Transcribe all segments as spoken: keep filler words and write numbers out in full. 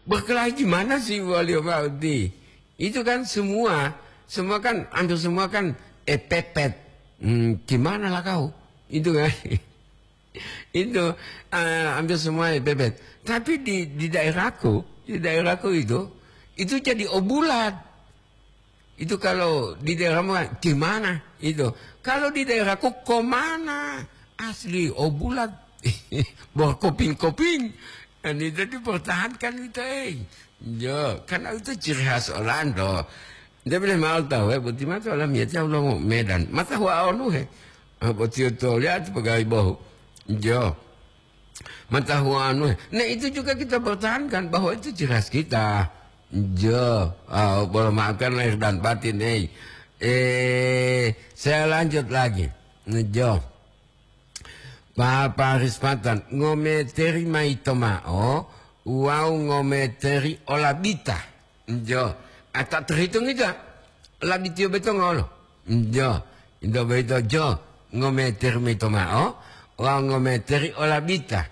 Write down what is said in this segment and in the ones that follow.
Berkelahi gimana sih, wali mauti? Itu kan semua, semua kan, hampir semua kan, eh, pepet. Hmm, gimana lah kau? Itu kan. Itu, eh, hampir semua, eh, pepet. Tapi di, di daerahku, di daerahku itu, itu jadi obulat. Itu kalau di daerahmu, gimana itu? Kalau di daerahku, komana? Asli, obulat. Berkoping-koping. Dan itu dipertahankan itu, eh. Jo, karena itu ciri khas Olando. Dia boleh mau tahu, eh, boti mata olam ya, tahu lo Medan. Mata hua onu, eh. Ah, boti itu lihat pegawai bohu. Jo. Mata hua onu, eh. Nah, itu juga kita pertahankan bahwa itu ciri khas kita. Jo, ah, boleh maafkan lahir dan batin, eh. Eh, saya lanjut lagi. Jo. Papa Rispatan, ngometeri mayi to ma'o, wawu ngometeri olabita. Jo, ata terhitung ita, labitiyo beto ngolo. Jo, ito boyito jo, ngometeri mayi to ma'o, wawu ngometeri olabita.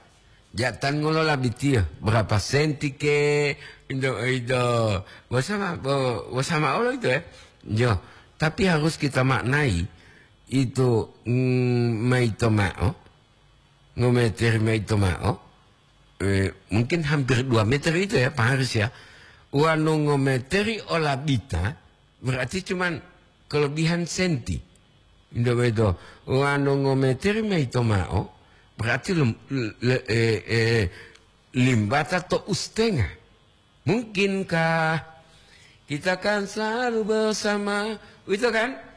Jatan ngolo labitiyo, berapa senti ke, ito, ito, bosama, bo-, bosama olo ito, ya. Jo, tapi harus kita maknai, itu, mm, mayi to ma'o, ngometeri mayi to ma'o, eh, mungkin hampir dua meter itu ya, Pak Haris ya. Wanu ngometeri olabita, berarti cuman kelebihan senti. Indah beto. Wanu ngometeri mayi to ma'o, berarti lem-, le-, eh, eh, limbata to ustenga. Mungkinkah kita akan selalu bersama? Itu kan?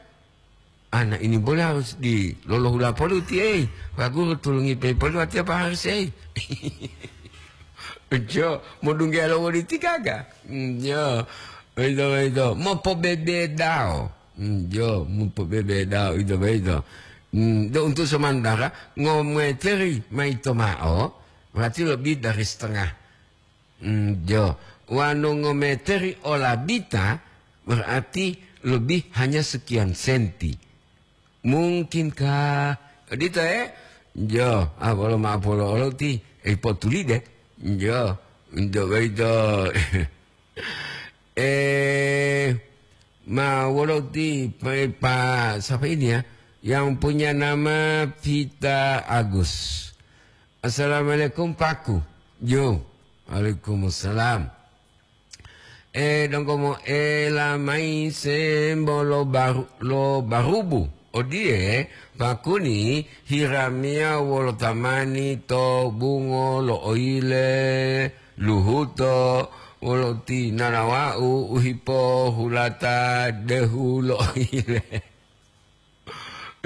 Anak ini boleh harus di lolohula poli uti, eh. Pak Guru tulungi pe poli watiya Pak Haris, eh. Jo, mau dungge lo wodi tiga ga? Hmm, jo. Itu, itu. Mau pobebedao. Hmm, jo, mau pobebedao, itu, itu. Hmm, do untuk sementara, ngometeri mayi to ma'o, berarti lebih dari setengah. Hmm, jo. Wanu ngometeri olabita berarti lebih hanya sekian senti. Mungkinkah? Odito, eh? Jo, ah, bolo ma'o polo olo ti, eh, potuli de. Jo, jo, boyito. Eh, ma wolo ti, pa, pa, siapa ini ya? Yang punya nama Vita Agus. Assalamualaikum, Paku. Yo. Waalaikumsalam. Eh, donggo moela mayi sembo lo baru-, lo barubu. Odiye, Pakuni, hiramiya wolo tamani to bungo lo oyile, luhuto, wolo ti nanawa'u u hipohulata dehu lo oyile.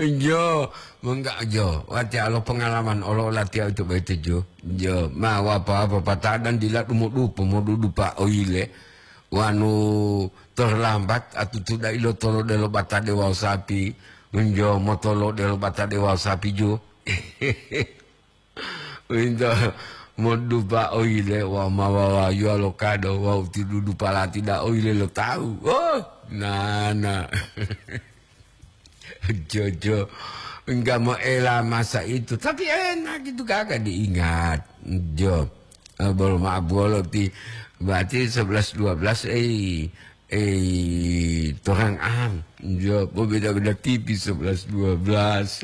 Jo, mengga jo, watiya lo pengalaman olo latiya itu boyito jo. Jo, ma wapa-wapa patadan dila dumudupa, modudupa oyile. Wanu terlambat, atutu dai lo tolo delo batade wawu sapi. Jo, motolo delo batade wawu sapi jo. Winto modupa oyile wa mawawayuwa lo kado wawu tidudupa lati da oyile lo tawu. Oh, nana. Jojo, enggak mau ela masa itu. Tapi enak itu kagak diingat. Jo. Eh, bolo maaf bolo ti. Berarti sebelas dua belas, eh, eh, torang am. Jo, beda-beda tipis sebelas dua belas.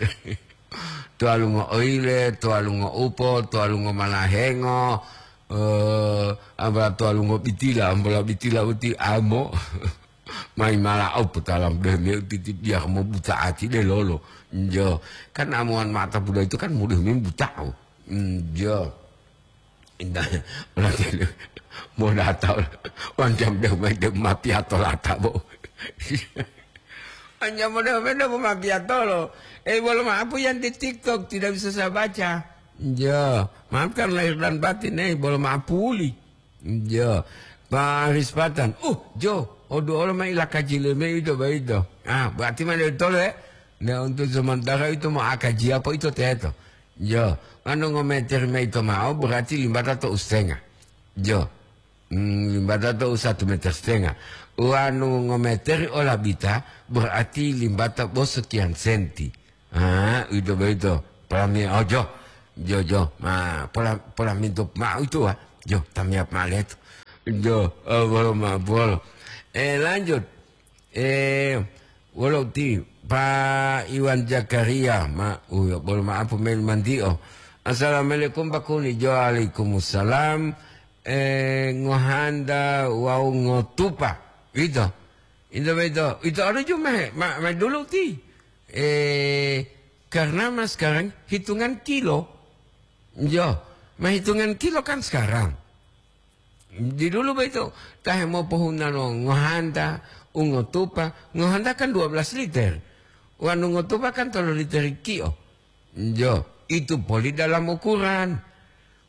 Tuwalungo oyile, tuwalungo upo, tuwalungo malahengo, eh, ambola tuwalungo bitila, ambola bitila uti amo. Mayi mala upo talam deh me uti ti biar mo buta ati de lolo. Jo, kan amuan mata buda itu kan mudah me buta. Jo. Indah, mo datang, wancam deh, deh, ma piato lata, bo. Wancam deh, deh, ma piato lo. Eh, bolo maaf yang di TikTok tidak bisa saya baca. Ya, maafkan lahir dan batin, eh, bolo maaf puli. Ya, Pak Rispatan. Uh, Jo, odu olo ma ila kaji leme itu, baik itu. Ah, berarti mana itu, eh? Nah, untuk sementara itu mau akaji apa itu, teh, itu? Jo, wanu ngometeri mayi to ma'o berarti limbata to usenga. Jo, mm, limbata to u satu meter setengah. Wanu ngometeri olabita berarti limbata bo sekian senti. Ah, itu begitu. Pola mi-, oh, jo. Jo, jo. Ma, pola, pola mintu ma itu, ah. Jo, tamiap ma leto. Jo, oh, bolo maaf, bolo. Eh, lanjut. Eh, wolo ti Pa Iwan Zakaria, ma, uyo, bolo maaf, mail mantio. Assalamualaikum, Pak Kuni. Jo, waalaikumsalam. Eh, ngohanda wau ngotupa. Ito. Ito, ito. Ito ada juga, ma, ma dulu ti. Eh, karena mas sekarang hitungan kilo. Jo, ma hitungan kilo kan sekarang. Di dulu begitu, tahe mopohunalo ngohanta, ungotupa, ngohanta kan dua belas liter. Wanu ngotupa kan tolu liter kio. Jo, itu poli dalam ukuran.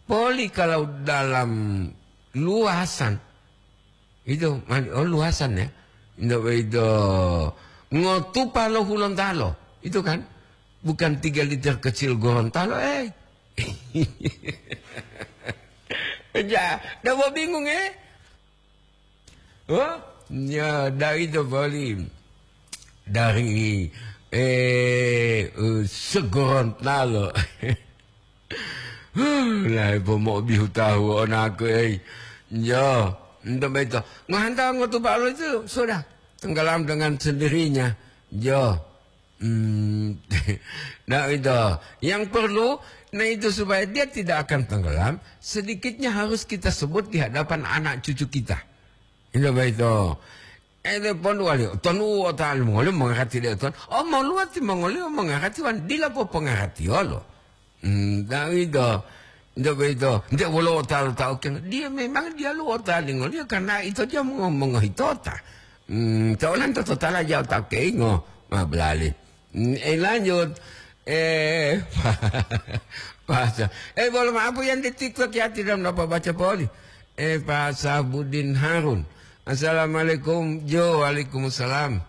Poli kalau dalam luasan, itu, oh, luasan ya. Ndak begitu. Ngotupa lo Hulontalo. Itu kan. Bukan tiga liter kecil Gorontalo, eh. Ja, ndak mau bingung, eh. Oh, ya, dari itu boli. Dari, eh, eh, Segorontalo. Lah, ipo mau bihu tahu onaku, eh. Ya, ndak begitu. Ngohanta ngotupa lo itu sudah tenggelam dengan sendirinya. Ya. Hmm, nah itu. Yang perlu, nah itu supaya dia tidak akan tenggelam, sedikitnya harus kita sebut di hadapan anak cucu kita. Itu begitu. Eh, dia pun wali, ton u otal mongoli mengerti dia ton. Oh, mau luat mongoli mengerti wan dila po pengerti olo. Hmm, nah itu. Ndak begitu. Ndak wolo otal tau keng. Dia memang dia lu otal ngoli karena itu dia mau mengohitota. Hmm, tau nanto totala jauh tau keingo. Ma belali. Mm, eh, lanjut. Eh, Pak Sa-, eh, bolo maaf yang di TikTok ya, tidak dapat baca poli. Eh, Pak Sahbudin Harun. Assalamualaikum, Jo. Waalaikumsalam.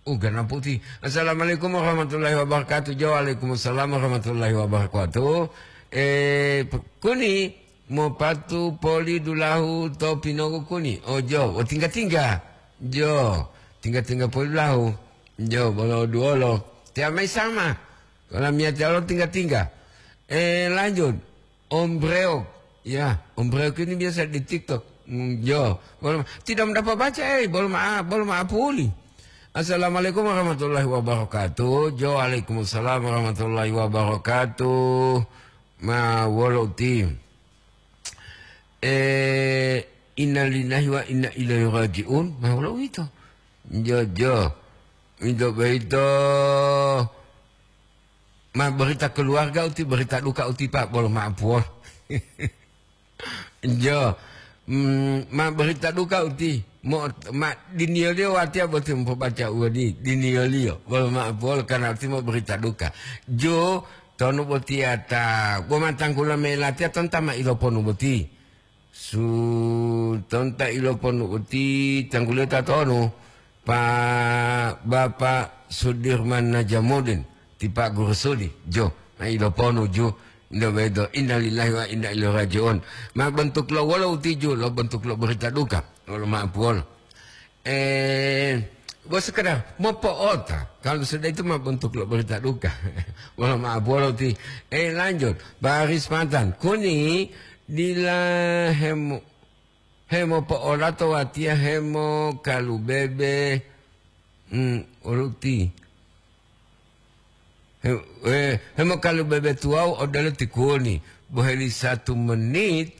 Uh, gana putih. Assalamualaikum warahmatullahi wabarakatuh. Jo, waalaikumsalam warahmatullahi wabarakatuh. Eh, P-, Kuni, mopatu poli dulahu to pinogu Kuni. Oh, Jo, oh, tingga-tingga. Jo, tingga-tingga poli dulahu. Jo, bolo duolo. Tiamai sama. Kalau miati Allah tingga-tingga. Eh, lanjut. Om Breok. Ya, Om Breok ini biasa di TikTok. Hmm, jo. Bolo, tidak mendapat baca, eh. Bolo maaf, bolo maaf puli. Assalamualaikum warahmatullahi wabarakatuh. Jo, waalaikumsalam warahmatullahi wabarakatuh. Ma wolo ti. Eh, innalillahi wa inna ilaihi raji'un. Ma wolo uwito. Jo, jo. Ito boyito ma berita keluarga uti, berita duka uti, Pak, bolo maaf, wol. Jo. Mm, ma berita duka uti. Mo, ma diniyoliyo watiya boti mopobaca uwodi, diniyoliyo. Bolo maaf, wol, karena uti ma berita duka. Jo, tonu botiya ta, bo ma tanggulo mayi latiya tonta ma iloponu boti. Su tonta iloponu uti tangguliyo tatonu, pa Bapak Sudirman Najamudin, ti Pak Guru Sudi, jo, ma iloponu ju, ndo bedo, innalillahi wa inna ilaihi raji'un. Ma bentuk lo wolo uti ju, lo bentuk lo berita duka, wolo maaf wolo. Eh, bo sekedar mopo'ota. Kalau sudah itu mah bentuk lo berita duka. Mohon maaf, wolo ti. Eh, lanjut. Baris mantan. Kuni dila hemo, hemo po'olato watiya hemo kalubebe. Hmm, oluti. He, eh, hemo kalubebe tuwau odelo ti Kuni. Boheli satu menit,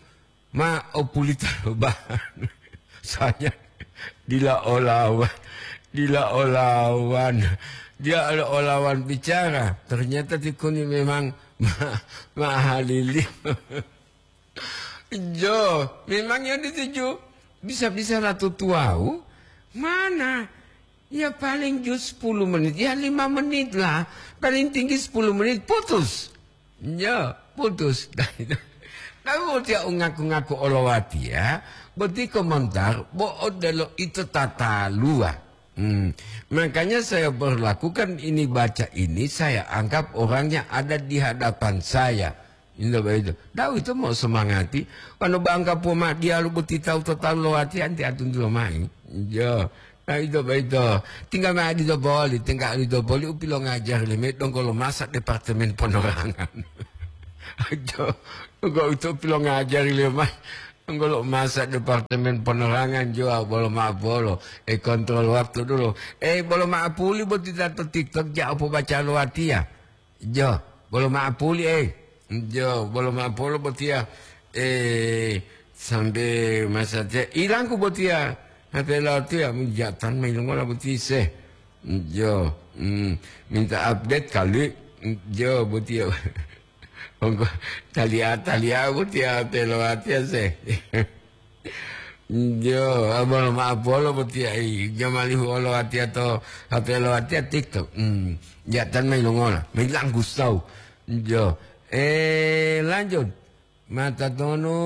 ma opulita lo bahan. Saya dila olawan, dila olawan. Dia olo olawan bicara. Ternyata ti Kuni memang ma-, mahalili. Jo, memang yang dituju bisa-bisa ratu tuau. Mana? Ya paling ju sepuluh menit, ya lima menit lah. Paling tinggi sepuluh menit, putus. Ya, putus. Tapi bo tiya u ngaku-ngaku olowatiya, boti komentar, bo odelo ito tataluwa. Hmm. Makanya saya berlakukan ini, baca ini, saya anggap orangnya ada di hadapan saya. Inda boyito. Da'a uwito mo'o somangati. Wonu bangka poma diyalu boti tawu to talu lowati anti atuntulo mayi. Jo. Nah, ito boyito. Tinggal ma adito boli, tinggal adito boli u pilongajari leme donggo lo masa Departemen Ponorangan. Jo. Donggo uwito pilongajari lemayi. Nggolo masa Departemen Penerangan jo, bolo ma'apolo. E, kontrol waktu dulu. E, bolo ma'apuli boti ta to TikTok ja pobaca lo watiya. Jo, bolo ma'apuli, e. Jo, bolo ma'apolo botiya. E, sambe masatiya ilangku botiya. Hate latiya, jatan mayi longola boti se. Jo, mm, minta update kali. Jo, botiya. Ongko, taliya, taliya botiya hate lo watiya se. Jo, abolo ma'apolo botiya, i, jamalihu olo watiya to, hate lo watiya TikTok. Hmm, jatan mayi longola, mayi langgu sau. Jo, e, lanjut. Mata tonu,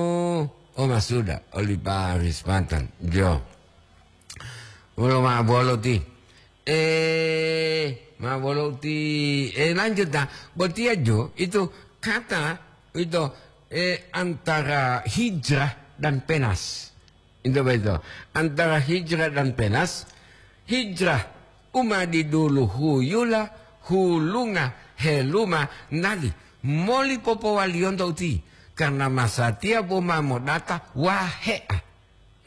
o masuda, oli Paris Pantan. Jo. Wolo ma'apolo ti. E, ma'apolo ti. E, lanjut ta. Botiya jo, itu kata, itu, e, antara hijrah dan penas. Itu betul. Antara hijrah dan penas, hijrah uma didulu huyula, hulunga, heluma, nali moli popowaliyonto uti, karena masatiya bo ma modata wahe'a.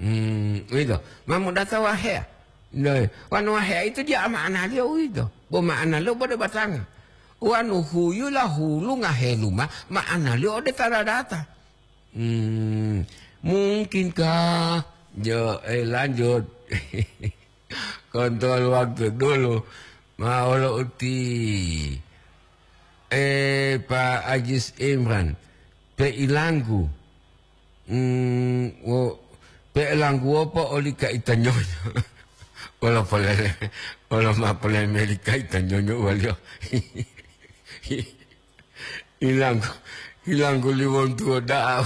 Hmm, uwito, ma modata wahe'a. Loe, wanu wahe'a itu dia ma'analiyo uwito, bo ma'analiyo bode batanga. Wanu huyula, hulunga, heluma, ma'analiyo ode ta dadata. Hmm, mungkinkah? Jo, eh, lanjut. Kontrol waktu dulu. Ma olo uti. Eh, Pak Ajis Imran. Pe ilanggu. Hmm, wo, pe ilanggu wopo oli kaita nyonyo. Wolo polele, wolo ma polele meli kaita nyonyo waliyo. Ilanggu, ilanggu liwontuwo da'a.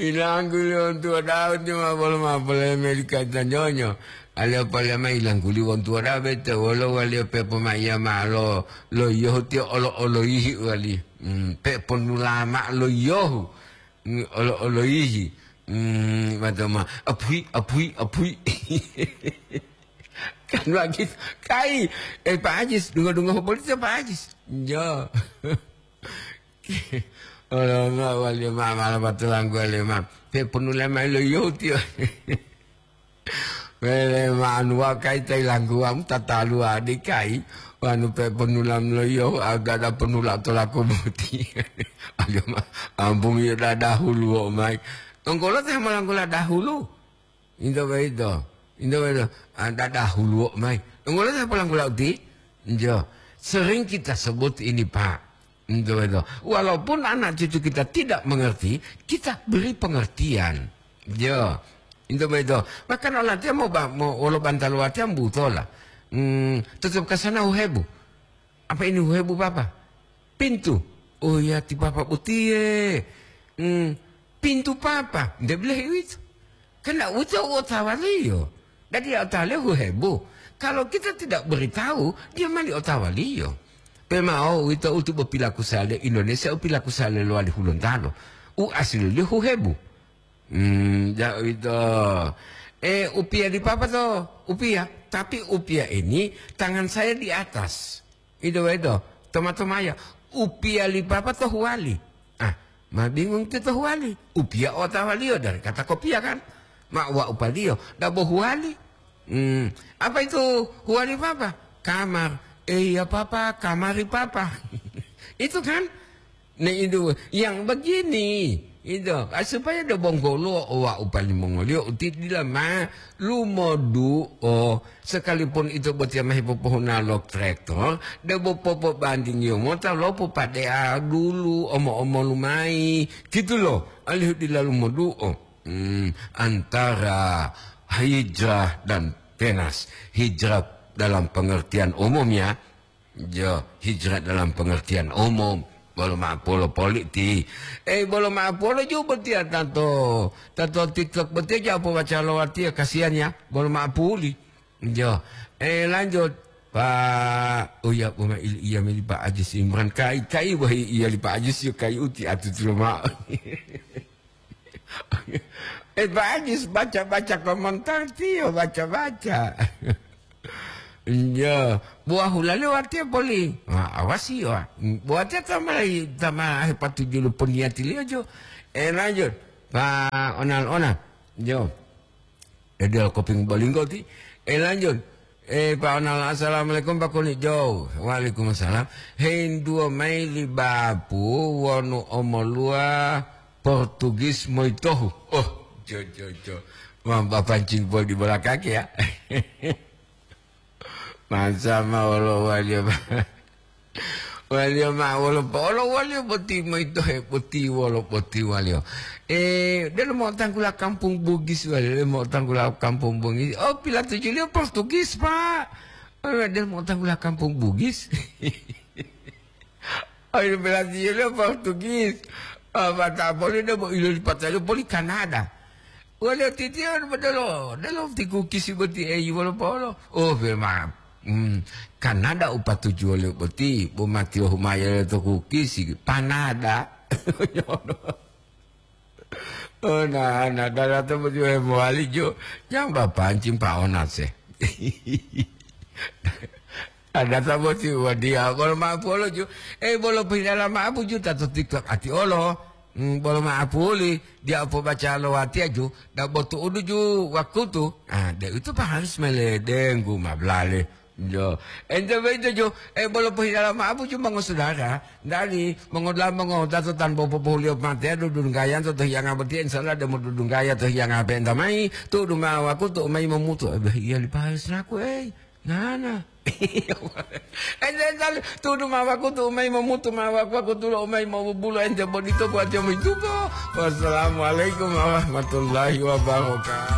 Ilanggu liwontuwo da'a, uti ma bolo ma polele meli kaita nyonyo. Aliyo polele ma ilanggu liwontuwo da'a bete, wolo waliyo pe pomaiya ma'o lo, lo yohu tiyo olo-oloyihi wali. Hmm, pe ponula ma'o lo yohu. Hmm, olo-oloyihi. Hmm, matoma, apui, apui, apui. Kan begitu. Kai, eh, Pak Ajis, dungo-dungo polisi Pak Ajis. Jo. Olo ma wali ma mala batulanggu wali ma. Pe ponula mayi lo yoti. Wele ma anu wa kai tai langguwamu tataluwa di kai. Wanu pe ponulam lo yo agada ponula to laku boti. Ayo ma, ambung yo dadahulu wo mai. Onggolo teh malanggula dahulu. Into boyito, into boyito, ah, dadahuluwo mayi. Donggo lo ta polanggula uti? Njo, sering kita sebut ini, Pak. Into boyito. Walaupun anak cucu kita tidak mengerti, kita beri pengertian. Njo, into boyito. Bahkan olatiya mo ba-, mo wolo bantalu watiya mbutola. Hmm, tetap ke sana uhebu. Apa ini uhebu, Papa? Pintu. Oh ya, ti Papa botiye. Hmm, pintu Papa. Nde bilahi uwito. Karena uwito u otawaliyo. Dadi ya otawaliyo uhebu. Kalau kita tidak beritahu, dia mali otawaliyo. Pemao uwito utu bopilaku sale Indonesia, u pilaku sale lowali Hulontalo. U asililiyo uhebu. Hmm, ja uwito. Eh, upiya li Papa to, upiya. Tapi upiya ini tangan saya di atas. Ito boyito, toma-tomaya, upiya li Papa to huwali. Ah, ma bingung ti to huwali. Upiya otawaliyo dari kata kopiya kan? Ma uwa upaliyo, dabo huwali. Hmm, apa itu huwali Papa? Kamar. Eh, iya Papa, kamari Papa. Itu kan? Nah, itu yang begini, itu, ah, supaya do bonggolo owa upalimongoliyo uti dila ma lumoduo, sekalipun itu botiya ma hipopohuna lo traktor, debo popobandingiyo mota lo popadeya dulu omo-omolu mayi, gitu lo, alihu dila lumoduo. Hmm, antara hijrah dan penas. Hijrah dalam pengertian umum ya, Jo, hijrah dalam pengertian umum. Bolo ma'apolo politi. Eh, bolo ma'apolo ju botiya tanto, tanto TikTok botiya ja pobaca lo watiya, kasihan ya. Bolo ma'apuli. Jo. Eh, lanjut. Pak, oh ya, poma il-, iya meli Pak Ajis Imran. Kai, kai, wahi iya li Pak Ajis, yo kai uti atutu lo ma'o. Eh, Pak Ajis, baca-baca komentar tiyo, baca-baca. Iya, buah hulaliyo watiya poli. Wah, awasi, wah. Buatiya tamalayi, tama hepatuju lo poniyatiliyo jo. Eh, lanjut. Pak Onal-onal. Jo. Eh, dia koping bolinggo ti. Eh, lanjut. Eh, Pak Onal, assalamualaikum, Pak Kuni Jo. Waalaikumsalam. Hinduo mayi li Bapu wonu omoluwa Portugis moyitohu. Oh, jo, jo, jo. Mamba pancing poli bola kaki ya. Masa ma wolo waliyo, waliyo ma wolo po-, wolo waliyo boti moyito he boti wolo boti waliyo. Eh, delo mo'otanggula kampung Bugis waliyo, delo mo'otanggula kampung Bugis. Oh, pilatujuliyo Portugis, Pak. Oh, delo mo'otanggula kampung Bugis. Oh, pilatujuliyo Portugis. Ah, mata poli debo ilo lipataliyo poli Kanada. Waliyo titiyo delo, delo ti kukisi boti eyi wolo polo. Oh, be ma, hmm, Kanada u patuju waliyo boti, bo matiyo humayo to kukisi, panada. Oh, na, na, dala to boti we mowali jo, jang bapancing pa onase. Ada ta boti wadiya, bolo ma'apu olo ju. Eh, bolo pohilala ma'apu ju, tato TikTok ati olo. Hmm, bolo ma'apu oli, dia opo baca lo watiya ju, da botu udu ju wakutu. Ah, de itu pa harus mele denggu mablale. Jo. Ente beito ju, eh, bolo pohilala ma'apu ju mongosudara. Dali, mongodula mongodato tan bopo pohuliyo mateya dudunggaya to hiyanga boti, insya Allah de modudunggaya to hiyanga penta mai, tu'udu ma wakutu mai momutu. Eh, iya li pa harus naku, eh. Nana. Ente talu, tudu ma wakutu umai momutu ma wakutu lo umai mobubulo ente bodito kuatiyo moitubo. Wassalamualaikum warahmatullahi wabarakatuh.